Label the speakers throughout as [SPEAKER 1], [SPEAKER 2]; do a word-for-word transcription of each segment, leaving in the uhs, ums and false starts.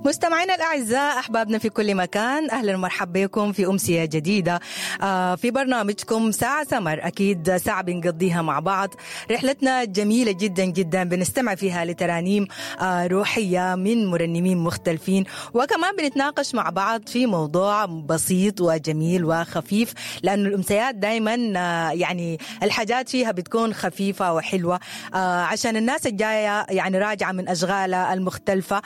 [SPEAKER 1] مستمعينا الأعزاء، أحبابنا في كل مكان، أهلا ومرحبا بكم في أمسية جديدة في برنامجكم ساعة سمر. أكيد ساعة بنقضيها مع بعض، رحلتنا جميلة جدا جدا، بنستمع فيها لترانيم روحية من مرنمين مختلفين، وكمان بنتناقش مع بعض في موضوع بسيط وجميل وخفيف، لأنه الأمسيات دايما يعني الحاجات فيها بتكون خفيفة وحلوة عشان الناس الجاية يعني راجعة من أشغالها المختلفة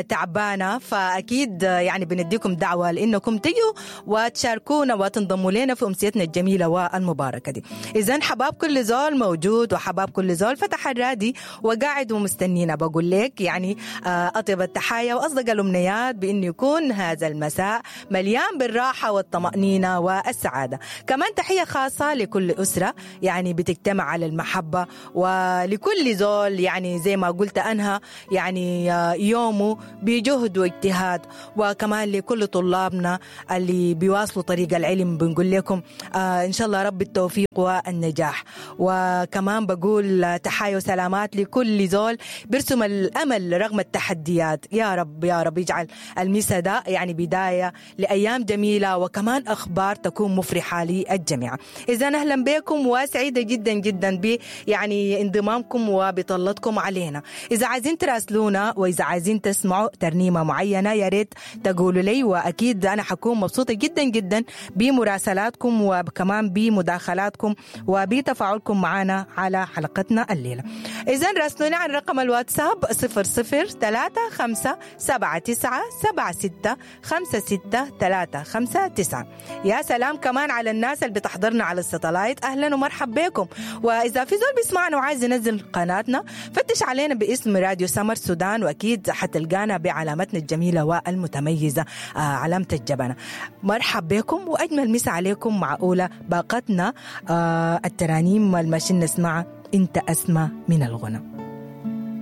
[SPEAKER 1] تعبانة، فأكيد يعني بنديكم دعوة لأنكم تجوا وتشاركونا وتنضموا لنا في أمسيتنا الجميلة والمباركة دي. إذن حباب كل زول موجود وحباب كل زول فتح الرادي وقاعد ومستنينا. بقول لك يعني أطيب التحايا وأصدق الأمنيات بأن يكون هذا المساء مليان بالراحة والطمأنينة والسعادة. كمان تحية خاصة لكل أسرة يعني بتجتمع على المحبة، ولكل زول يعني زي ما قلت أنها يعني يومه بجهد واجتهاد، وكمان لكل طلابنا اللي بيواصلوا طريق العلم بنقول لكم آه إن شاء الله رب التوفيق والنجاح. وكمان بقول تحايا وسلامات لكل زول برسم الأمل رغم التحديات. يا رب يا رب يجعل المسا ده يعني بداية لأيام جميلة وكمان أخبار تكون مفرحة للجميع. إذا أهلا بكم وسعيدة جدا جدا ب يعني انضمامكم وبطلتكم علينا. إذا عايزين تراسلونا وإذا عايزين تسمعوا ترنيمة معينة يا ريت تقولوا لي، وأكيد أنا حكون مبسوطة جدا جدا بمراسلاتكم وكمان بمداخلاتكم وبتفاعلكم معنا على حلقتنا الليلة. إذن راسلونا على رقم الواتساب صفر صفر ثلاثة خمسة سبعة تسعة سبعة ستة خمسة ستة ثلاثة خمسة تسعة. يا سلام كمان على الناس اللي بتحضرنا على الستلايت، أهلا ومرحبا بكم. وإذا في زول بيسمعنا وعايز ينزل قناتنا فتش علينا باسم راديو سمر سودان، وأكيد حتلقانا بعلامتنا الجميلة والمتميزة علامة الجبنة. مرحب بكم وأجمل مسا عليكم مع أولى باقتنا الترانيم الماشيين نسمعها أنت أسمى من الغنى.